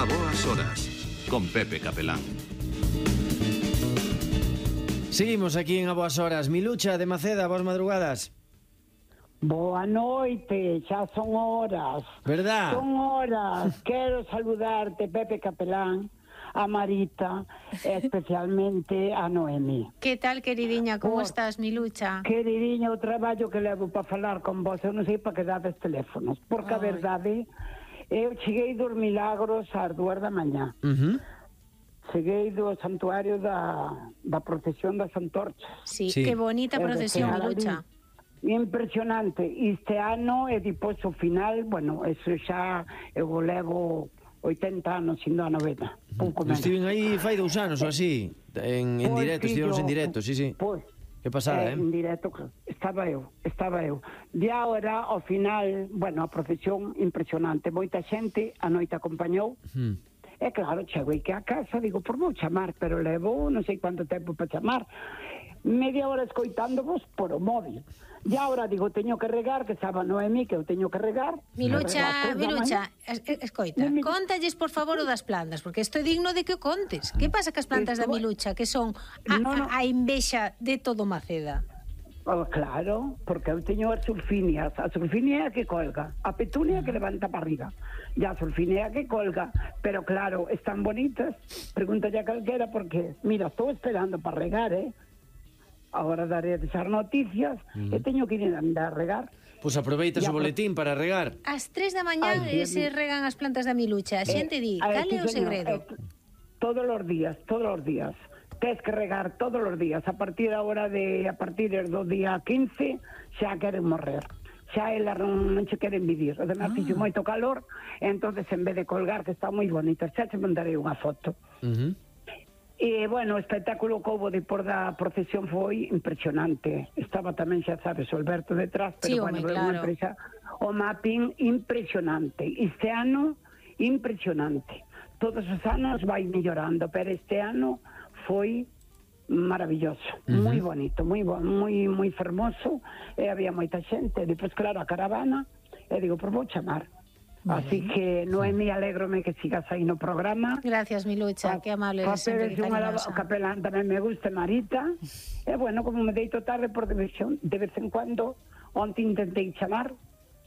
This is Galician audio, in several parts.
A boas horas, con Pepe Capelán. Seguimos aquí en A Boas Horas. Milucha de Maceda, boas madrugadas. Boa noite, xa son horas. Verdad? Son horas. Quero saludarte, Pepe Capelán, a Marita, e especialmente a Noemi. Que tal, queridiña? Como estás, Milucha? Queridiña, o traballo que levo para falar con vos, eu non sei para que dades teléfonos, porque a verdade, eu cheguei dos Milagros ás 2 da mañá. Cheguei do santuario da procesión das antorchas. Sí, que bonita procesión, Milucha. Impresionante. Este ano, e depois o final, bueno, eso xa eu levo 80 anos indo a novena. Pouco menos. Estiven aí fai 2 anos ou así, en directo, estivemos en directo, sí. Pois, que pasada, en directo, estaba eu. De agora, ao final, bueno, a procesión impresionante. Moita xente a noite acompañou. E claro, chego que a casa, digo, por vou chamar, pero levo non sei quanto tempo para chamar. Media hora escoitándovos por o móvil. E agora digo, teño que regar, que estaba Noemi, que eu teño que regar. Milucha, escoita, contalles por favor o das plantas, porque estou digno de que o contes. Que pasa cas plantas da Milucha, que son a envexa de todo Maceda? Oh, claro, porque eu teño as sulfinias. A sulfinia é a que colga, a petunia que levanta para arriba, e a sulfinia é a que colga. Pero claro, están bonitas. Pregúntalle a calquera, porque mira, estou esperando para regar, agora daré as noticias e teño que ir a andar a regar. Pois aproveitas o boletín para regar. Ás 3 da mañá se regan as plantas da Milucha. A xente di, cal é o segredo? Todos os días. Tens que regar todos os días. A partir do día 15 xa queren morrer. Xa elas non se queren vivir. Además, fixo moito calor, entonces en vez de colgar, que está moi bonita, xa te mandarei unha foto. E, bueno, o espectáculo que houve depois da procesión foi impresionante. Estaba tamén, xa sabes, o Alberto detrás, pero, bueno, claro, o mapping impresionante. Este ano, impresionante. Todos os anos vai mellorando, pero este ano foi maravilloso, moi bonito, moi fermoso, e había moita xente. Depois, claro, a caravana, e digo, por vou chamar. Así que, Noemi, alégrome que sigas aí no programa. Gracias, Milucha, que amable eres, sempre cariñosa. O Capelán tamén me gusta, Marita. E, bueno, como me deito tarde por de vez en cuando, onte intentei chamar,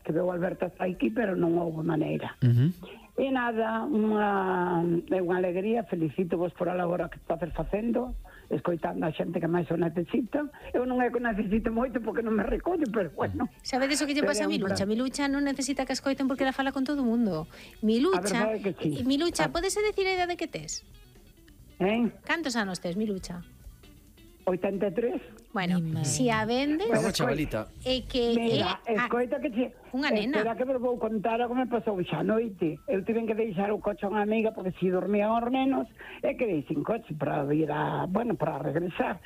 que veo Alberto está aquí, pero non houve maneira. E nada, é unha alegría, felicito vos por a labora que estás facendo, escoitando a xente que máis o necesita. Eu non é que necesito moito porque non me recollo, pero bueno. Sabedes o que lle pasa a Milucha? Milucha non necesita que escoiten porque ela fala con todo o mundo. Milucha, podese decir a idade que tes? Cantos anos tes, Milucha? 83. Bueno, si a vendes... Unha chavalita. É que... Mira, escoita que unha nena. Espera que vos vou contar o que me pasou xa noite. Eu tiven que deixar o coche a unha amiga porque si dormían os nenos, e quedei sin coche para vir para regresar.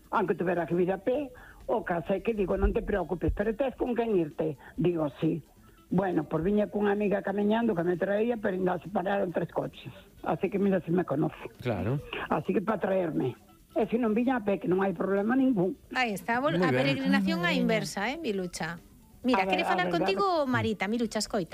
Aunque tuvera que vir a pé, o caso é que digo, non te preocupes, pero tes con quen irte? Digo, sí. Bueno, por viña cunha amiga camiñando que me traía, pero ainda se pararon 3 coches. Así que mira se me conoce. Claro. Así que para traerme. E se non viña a pé, que non hai problema ningún. Aí está, a peregrinación á inversa, Milucha. Mira, quere falar contigo Marita, Milucha, escoita.